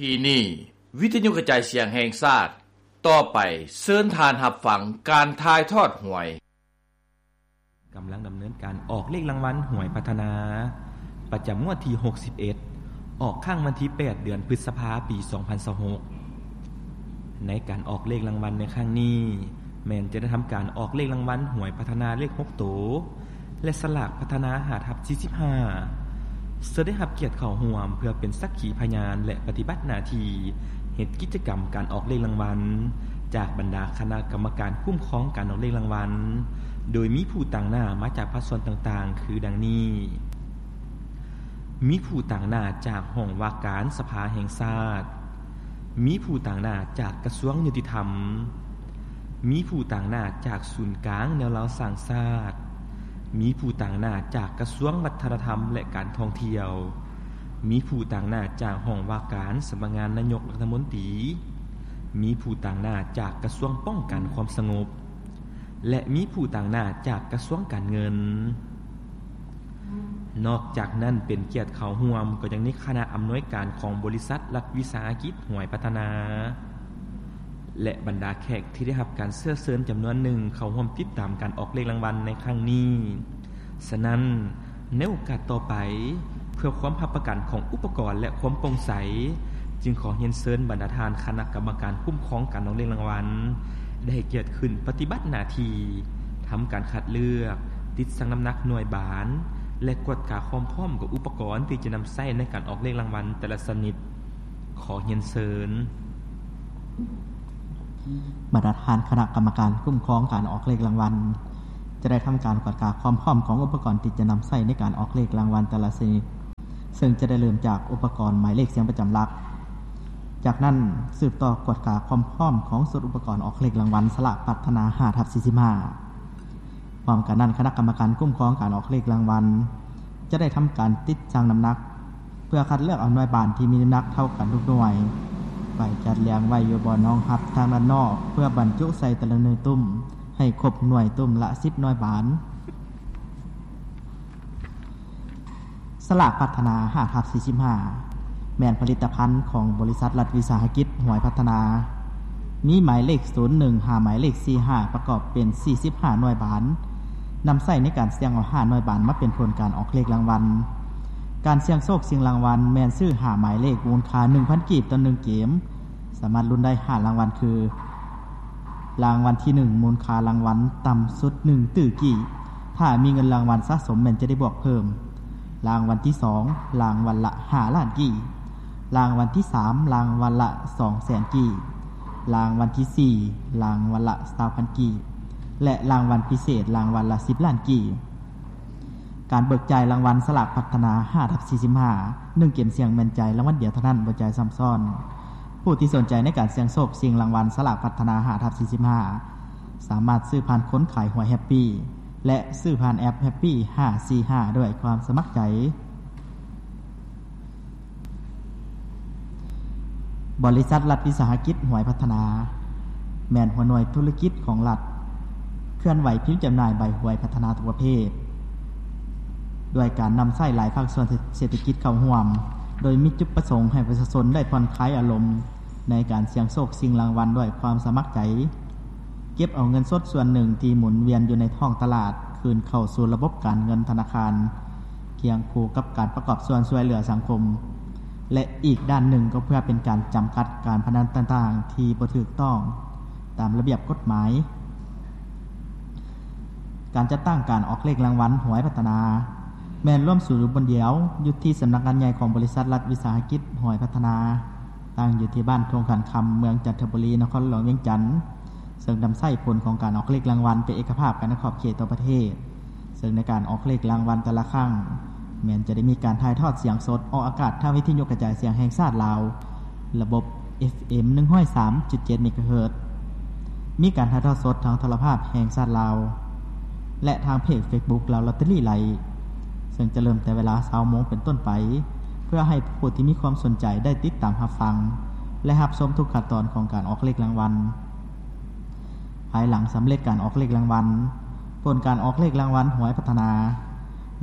ທີ່ນີ້ ວິທະຍຸກະຈາຍສຽງແຫ່ງຊາດ, ຕໍ່ໄປເຊີນທ່ານຮັບຟັງການຖ່າຍທອດຫວຍ. ກຳລັງດຳເນີນການອອກເລກລາງວັນຫວຍພັດທະນາ ປະຈຳງວດທີຫົກສິບເອັດ ອອກຄັ້ງວັນທີແປດ ເດືອນພຶດສະພາ ປີສອງພັນຊາວຫົກ. ໃນການອອກເລກລາງວັນໃນຄັ້ງນີ້ ແມ່ນຈະໄດ້ທຳການອອກເລກລາງວັນຫວຍພັດທະນາເລກຫົກໂຕ ແລະ ສະຫຼາກພັດທະນາ ຫ້າທັບສີ່ສິບຫ້າ ເຊິ່ງໄດ້ຮັບກຽດເຂົ້າຮ່ວມເພື່ອເປັນສັກຂີພະຍານ ແລະ ປະຕິບັດໜ້າທີ່ເຮັດກິດຈະກຳການອອກເລກລາງວັນ ຈາກບັນດາຄະນະກຳມະການຄຸ້ມຄອງການອອກເລກລາງວັນ, ໂດຍມີຜູ້ຕາງໜ້າມາຈາກພາກສ່ວນຕ່າງໆ ຄືດັ່ງນີ້: ມີຜູ້ຕາງໜ້າຈາກຫ້ອງວ່າການສະພາແຫ່ງຊາດ, ມີຜູ້ຕາງໜ້າຈາກກະຊວງຍຸຕິທຳ, ມີຜູ້ຕາງໜ້າຈາກສູນກາງແນວລາວສ້າງຊາດ, ມີຜູ້ຕາງໜ້າຈາກກະຊວງວັດທະນະທຳ ແລະ ການທ່ອງທ່ຽວ, ມີຜູ້ຕາງໜ້າຈາກຫ້ອງວ່າການສຳນັກງານນາຍົກລັດຖະມົນຕີ, ມີຜູ້ຕາງໜ້າຈາກກະຊວງປ້ອງກັນຄວາມສະຫງົບ ແລະ ມີຜູ້ຕາງໜ້າຈາກກະຊວງການເງິນ. ນອກຈາກນັ້ນ ເປັນກຽດເຂົ້າຮ່ວມກໍຍັງມີຄະນະອຳນວຍການຂອງບໍລິສັດລັດວິສາຫະກິດຫວຍພັດທະນາ ແລະ ບັນດາແຂກທີ່ໄດ້ຮັບການເຊື້ອເຊີນຈຳນວນໜຶ່ງເຂົ້າຮ່ວມຕິດຕາມການອອກເລກລາງວັນໃນຄັ້ງນີ້. ສະນັ້ນ, ໃນໂອກາດຕໍ່ໄປ, ເພື່ອຄວາມຮັບປະກັນຂອງອຸປະກອນ ແລະ ຄວາມໂປ່ງໃສ, ຈຶ່ງຂໍຮຽນເຊີນບັນດາທ່ານຄະນະກຳມະການຄຸ້ມຄອງການອອກເລກລາງວັນ ໄດ້ໃຫ້ກຽດຂຶ້ນປະຕິບັດໜ້າທີ່ ທຳການຄັດເລືອກ, ຕິດຊັ່ງນ້ຳໜັກໜ່ວຍບານ ແລະ ກວດກາຄວາມພ້ອມຂອງອຸປະກອນທີ່ຈະນຳໃຊ້ໃນການອອກເລກລາງວັນແຕ່ລະຊະນິດ. ຂໍຮຽນເຊີນ. ບັນດາທ່ານຄະນະກຳມະການຄຸ້ມຄອງການອອກເລກລາງວັນ ຈະໄດ້ທຳການກວດກາຄວາມພ້ອມຂອງອຸປະກອນທີ່ຈະນຳໃຊ້ໃນການອອກເລກລາງວັນແຕ່ລະຊະນິດ, ເຊິ່ງຈະໄດ້ເລີ່ມຈາກອຸປະກອນໝາຍເລກສຽງປະຈຳຫຼັກ. ຈາກນັ້ນ, ສືບຕໍ່ກວດກາຄວາມພ້ອມຂອງຊຸດອຸປະກອນອອກເລກລາງວັນສະຫຼາກພັດທະນາ ຫ້າທັບສີ່ສິບຫ້າ. ພ້ອມກັນນັ້ນ, ຄະນະກຳມະການຄຸ້ມຄອງການອອກເລກລາງວັນ ຈະໄດ້ທຳການຕິດຊັ່ງນ້ຳໜັກ ເພື່ອຄັດເລືອກເອົາໜ່ວຍບານທີ່ມີນ້ຳໜັກເທົ່າກັນທຸກໜ່ວຍ ໄປຈັດລຽງໄວ້ຢູ່ບ່ອນຮອງຮັບທາງດ້ານນອກ ເພື່ອບັນຈຸໃສ່ແຕ່ລະໜ່ວຍຕຸ້ມ ໃຫ້ຄົບໜ່ວຍຕຸ້ມລະສິບໜ່ວຍບານ. ສະຫຼາກພັດທະນາ ຫ້າທັບສີ່ສິບຫ້າ ແມ່ນຜະລິດຕະພັນຂອງບໍລິສັດລັດວິສາຫະກິດຫວຍພັດທະນາ ມີໝາຍເລກ ສູນໜຶ່ງ ຫາໝາຍເລກ ສີ່ຫ້າ ປະກອບເປັນ ສີ່ສິບຫ້າໜ່ວຍບານ, ນຳໃຊ້ໃນການສ່ຽງເອົາຫ້າໜ່ວຍບານມາເປັນຜົນການອອກເລກລາງວັນ. ການສ່ຽງໂຊກຊິງລາງວັນແມ່ນຊື້ຫ້າໝາຍເລກ ມູນຄ່າໜຶ່ງພັນກີບຕໍ່ໜຶ່ງເກມ, ສາມາດລຸ້ນໄດ້ຫ້າລາງວັນຄື ລາງວັນທີໜຶ່ງ ມູນຄ່າລາງວັນຕ່ຳສຸດໜຶ່ງຕື້ກີບ, ຖ້າມີເງິນລາງວັນສະສົມແມ່ນຈະໄດ້ບວກເພີ່ມ, ລາງວັນທີສອງ ລາງວັນລະຫ້າລ້ານກີບ, ລາງວັນທີສາມ ລາງວັນລະສອງແສນກີບ, ລາງວັນທີສີ່ ລາງວັນລະຊາວພັນກີບ ແລະ ລາງວັນພິເສດ ລາງວັນລະສິບລ້ານກີບ. ການເບີກຈ່າຍລາງວັນສະຫຼາກພັດທະນາ ຫ້າທັບສີ່ສິບຫ້າ ໜຶ່ງເກມສ່ຽງແມ່ນຈ່າຍລາງວັນດຽວເທົ່ານັ້ນ, ບໍ່ຈ່າຍຊ້ຳຊ້ອນ. ຜູ້ທີ່ສົນໃຈໃນການສ່ຽງໂຊກຊິງລາງວັນສະຫຼາກພັດທະນາ ຫ້າທັບສີ່ສິບຫ້າ ສາມາດຊື້ຜ່ານຄົນຂາຍຫວຍແຮັບປີ ແລະ ຊື້ຜ່ານແອັບແຮັບປີ ຫ້າສີ່ຫ້າ ດ້ວຍຄວາມສະໝັກໃຈ. ບໍລິສັດລັດວິສາຫະກິດຫວຍພັດທະນາ ແມ່ນຫົວໜ່ວຍທຸລະກິດຂອງລັດ ເຄື່ອນໄຫວພິມຈຳໜ່າຍໃບຫວຍພັດທະນາທຸກປະເພດ ດ້ວຍການນຳໃຊ້ຫຼາຍພາກສ່ວນເສດຖະກິດເຂົ້າຮ່ວມ, ໂດຍມີຈຸດປະສົງໃຫ້ປະຊາຊົນໄດ້ຜ່ອນຄາຍອາລົມໃນການສ່ຽງໂຊກຊິງລາງວັນດ້ວຍຄວາມສະໝັກໃຈ. ເກັບເອົາເງິນສົດສ່ວນໜຶ່ງທີ່ໝູນວຽນຢູ່ໃນທ້ອງຕະຫຼາດ ຄືນເຂົ້າສູ່ລະບົບການເງິນທະນາຄານ, ຄຽງຄູ່ກັບການປະກອບສ່ວນຊ່ວຍເຫຼືອສັງຄົມ ແລະ ອີກດ້ານໜຶ່ງກໍເພື່ອເປັນການຈຳກັດການພະນັນຕ່າງໆທີ່ບໍ່ຖືກຕ້ອງຕາມລະບຽບກົດໝາຍ. ການຈັດຕັ້ງການອອກເລກລາງວັນຫວຍພັດທະນາ ແມ່ນລວມສູນຢູ່ບ່ອນດຽວ ຢູ່ທີ່ສຳນັກງານໃຫຍ່ຂອງບໍລິສັດລັດວິສາຫະກິດຫວຍພັດທະນາ, ຕັ້ງຢູ່ທີ່ບ້ານທົ່ງຂັນຄຳ ເມືອງຈັນທະບູລີ ນະຄອນຫຼວງວຽງຈັນ, ເຊິ່ງນຳໃຊ້ຜົນຂອງການອອກເລກລາງວັນເປັນເອກະພາບກັນໃນຂອບເຂດທົ່ວປະເທດ, ເຊິ່ງໃນການອອກເລກລາງວັນແຕ່ລະຄັ້ງ ແມ່ນຈະໄດ້ມີການຖ່າຍທອດສຽງສົດອອກອາກາດທາງວິທະຍຸກະຈາຍສຽງແຫ່ງຊາດລາວ ລະບົບ ເອັຟເອັມ ໜຶ່ງຮ້ອຍສາມຈຸດເຈັດ ເມກາເຮີດ, ມີການຖ່າຍທອດສົດທາງໂທລະພາບແຫ່ງຊາດລາວ ແລະ ທາງເພຈເຟສບຸກລາວລອດເຕີຣີໄລ, ເຊິ່ງຈະເລີ່ມແຕ່ເວລາຊາວໂມງເປັນຕົ້ນໄປ ເພື່ອໃຫ້ຜູ້ທີ່ມີຄວາມສົນໃຈໄດ້ຕິດຕາມຮັບຟັງ ແລະ ຮັບຊົມທຸກຂັ້ນຕອນຂອງການອອກເລກລາງວັນ. ພາຍຫຼັງສຳເລັດການອອກເລກລາງວັນ, ຜົນການອອກເລກລາງວັນຫວຍພັດທະນາ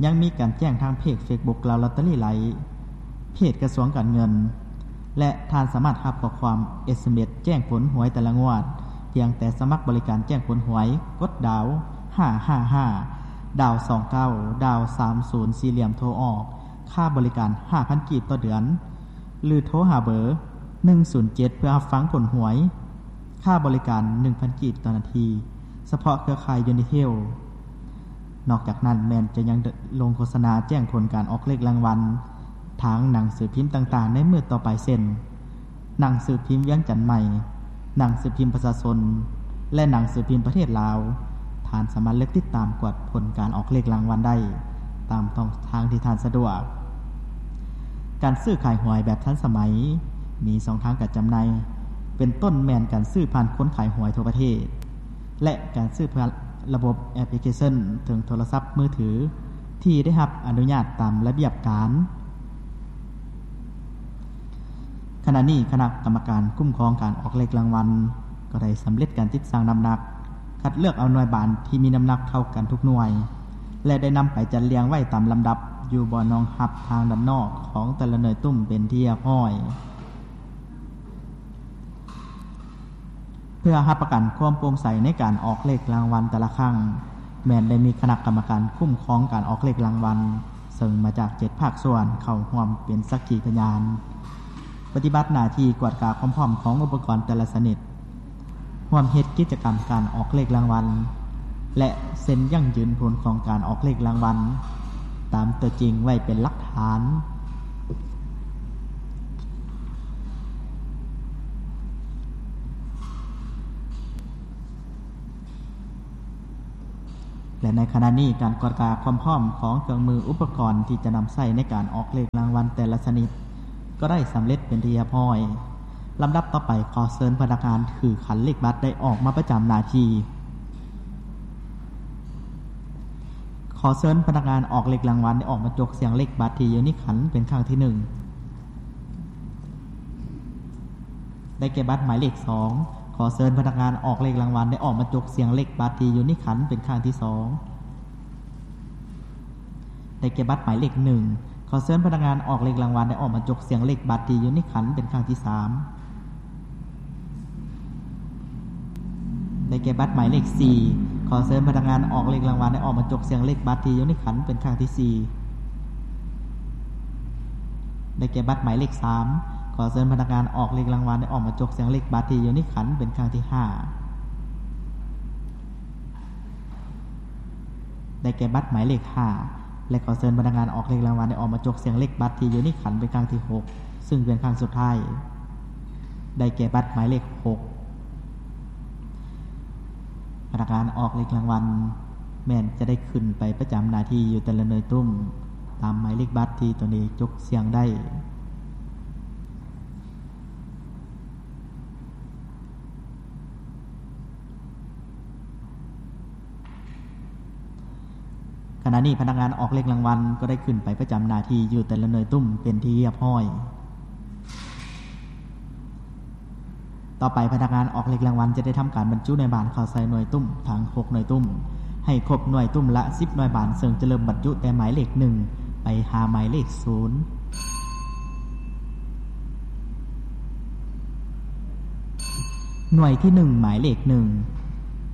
ຍັງມີການແຈ້ງທາງເພຈເຟສບຸກລາວລອດເຕີຣີໄລ, ເພຈກະຊວງການເງິນ, ແລະ ທ່ານສາມາດຮັບຂໍ້ຄວາມ ເອສເອັມເອສ ແຈ້ງຜົນຫວຍແຕ່ລະງວດ ພຽງແຕ່ສະໝັກບໍລິການແຈ້ງຜົນຫວຍ, ກົດດາວຫ້າຫ້າຫ້າ ດາວສອງເກົ້າ ດາວສາມສູນ ສີ່ຫຼ່ຽມໂທອອກ, ຄ່າບໍລິການຫ້າພັນກີບຕໍ່ເດືອນ ຫຼື ໂທຫາເບີໜຶ່ງສູນເຈັດ ເພື່ອຮັບຟັງຜົນຫວຍ. ຄ່າບໍລິການໜຶ່ງພັນກີບຕໍ່ນາທີ ສະເພາະເຄືອຂ່າຍ Unitel. ນອກຈາກນັ້ນແມ່ນຈະຍັງລົງໂຄສະນາແຈ້ງຜົນການອອກເລກລາງວັນ ທາງໜັງສືພິມຕ່າງໆໃນມື້ຕໍ່ໄປ ເຊັ່ນ ໜັງສືພິມວຽງຈັນໃໝ່, ໜັງສືພິມປະຊາຊົນ ແລະ ໜັງສືພິມປະເທດລາວ. ທ່ານສາມາດເລືອກຕິດຕາມກວດຜົນການອອກເລກລາງວັນໄດ້ຕາມຊ່ອງທາງທີ່ທ່ານສະດວກ. ການຊື້ຂາຍຫວຍແບບທັນສະໄໝ ມີຊ່ອງທາງການຈຳໜ່າຍ ເປັນຕົ້ນແມ່ນການຊື້ຜ່ານຄົນຂາຍຫວຍທົ່ວປະເທດ ແລະ ການຊື້ຜ່ານລະບົບແອັບພລິເຄຊັນເທິງໂທລະສັບມືຖື ທີ່ໄດ້ຮັບອະນຸຍາດຕາມລະບຽບການ. ຂະນະນີ້ຄະນະກຳມະການຄຸ້ມຄອງການອອກເລກລາງວັນ ກໍໄດ້ສຳເລັດການຕິດຊັ່ງນ້ຳໜັກ, ຄັດເລືອກເອົາໜ່ວຍບານທີ່ມີນ້ຳໜັກເທົ່າກັນທຸກໜ່ວຍ ແລະ ໄດ້ນຳໄປຈັດລຽງໄວ້ຕາມລຳດັບຢູ່ບ່ອນຮອງຮັບທາງດ້ານນອກຂອງແຕ່ລະໜ່ວຍຕຸ້ມເປັນທີ່ຮຽບຮ້ອຍ. ເພື່ອຮັບປະກັນຄວາມໂປ່ງໃສໃນການອອກເລກລາງວັນແຕ່ລະຄັ້ງ, ແມ່ນໄດ້ມີຄະນະກຳມະການຄຸ້ມຄອງການອອກເລກລາງວັນ ເຊິ່ງມາຈາກເຈັດພາກສ່ວນເຂົ້າຮ່ວມເປັນສັກຂີພະຍານ, ປະຕິບັດໜ້າທີ່ກວດກາຄວາມພ້ອມຂອງອຸປະກອນແຕ່ລະຊະນິດ, ຮ່ວມເຮັດກິດຈະກຳການອອກເລກລາງວັນ ແລະ ເຊັນຢັ້ງຢືນຜົນຂອງການອອກເລກລາງວັນ ຕາມຕົວຈິງໄວ້ເປັນຫຼັກຖານ. ແລະ ໃນຂະນະນີ້ ການກວດກາຄວາມພ້ອມຂອງເຄື່ອງມືອຸປະກອນທີ່ຈະນຳໃຊ້ໃນການອອກເລກລາງວັນແຕ່ລະຊະນິດ ກໍໄດ້ສຳເລັດເປັນທີ່ຮຽບຮ້ອຍ. ລຳດັບຕໍ່ໄປ ຂໍເຊີນພະນັກງານຖືຂັນເລກບັດໄດ້ອອກມາປະຈຳໜ້າທີ່. ຂໍເຊີນພະນັກງານອອກເລກລາງວັນໄດ້ອອກມາຈົກສ່ຽງເລກບັດທີ່ຢູ່ໃນຂັນເປັນຄັ້ງທີໜຶ່ງ. ໄດ້ແກ່ບັດໝາຍເລກສອງ. ຂໍເຊີນພະນັກງານອອກເລກລາງວັນໄດ້ອອກມາຈົກສ່ຽງເລກບັດທີ່ຢູ່ໃນຂັນເປັນຄັ້ງທີສອງ. ໄດ້ແກ່ບັດໝາຍເລກໜຶ່ງ. ຂໍເຊີນພະນັກງານອອກເລກລາງວັນໄດ້ອອກມາຈົກສ່ຽງເລກບັດທີ່ຢູ່ໃນຂັນເປັນຄັ້ງທີສາມ. ໄດ້ແກ່ບັດໝາຍເລກສີ່. ຂໍເຊີນພະນັກງານອອກເລກລາງວັນໄດ້ອອກມາຈົກສ່ຽງເລກບັດທີ່ຢູ່ໃນຂັນເປັນຄັ້ງທີສີ່. ໄດ້ແກ່ບັດໝາຍເລກສາມ. ຂໍເຊີນພະນັກງານອອກເລກລາງວັນໄດ້ອອກມາຈົກສ່ຽງເລກບັດທີ່ຢູ່ໃນຂັນເປັນຄັ້ງທີຫ້າ. ໄດ້ແກ່ບັດໝາຍເລກຫ້າ ແລະ ຂໍເຊີນພະນັກງານອອກເລກລາງວັນໄດ້ອອກມາຈົກສ່ຽງເລກບັດທີ່ຢູ່ໃນຂັນເປັນຄັ້ງທີຫົກ ຊຶ່ງເປັນຄັ້ງສຸດທ້າຍ. ໄດ້ແກ່ບັດໝາຍເລກຫົກ. ພະນັກງານອອກເລກລາງວັນແມ່ນຈະໄດ້ຂຶ້ນໄປປະຈຳໜ້າທີ່ຢູ່ແຕ່ລະໜ່ວຍຕຸ້ມ ຕາມໝາຍເລກບັດທີ່ຕົນເອງຈົກສ່ຽງໄດ້. ຂະນະນີ້ພະນັກງານອອກເລກລາງວັນກໍໄດ້ຂຶ້ນໄປປະຈຳໜ້າທີ່ຢູ່ແຕ່ລະໜ່ວຍຕຸ້ມເປັນທີ່ຮຽບຮ້ອຍ. ຕໍ່ໄປພະນັກງານອອກເລກລາງວັນຈະໄດ້ທຳການບັນຈຸໜ່ວຍບານເຂົ້າໃສ່ໜ່ວຍຕຸ້ມທັງຫົກໜ່ວຍຕຸ້ມ ໃຫ້ຄົບໜ່ວຍຕຸ້ມລະສິບໜ່ວຍບານ, ເຊິ່ງຈະເລີ່ມບັນຈຸແຕ່ໝາຍເລກໜຶ່ງ ໄປຫາໝາຍເລກສູນ. ໜ່ວຍທີໜຶ່ງ ໝາຍເລກໜຶ່ງ.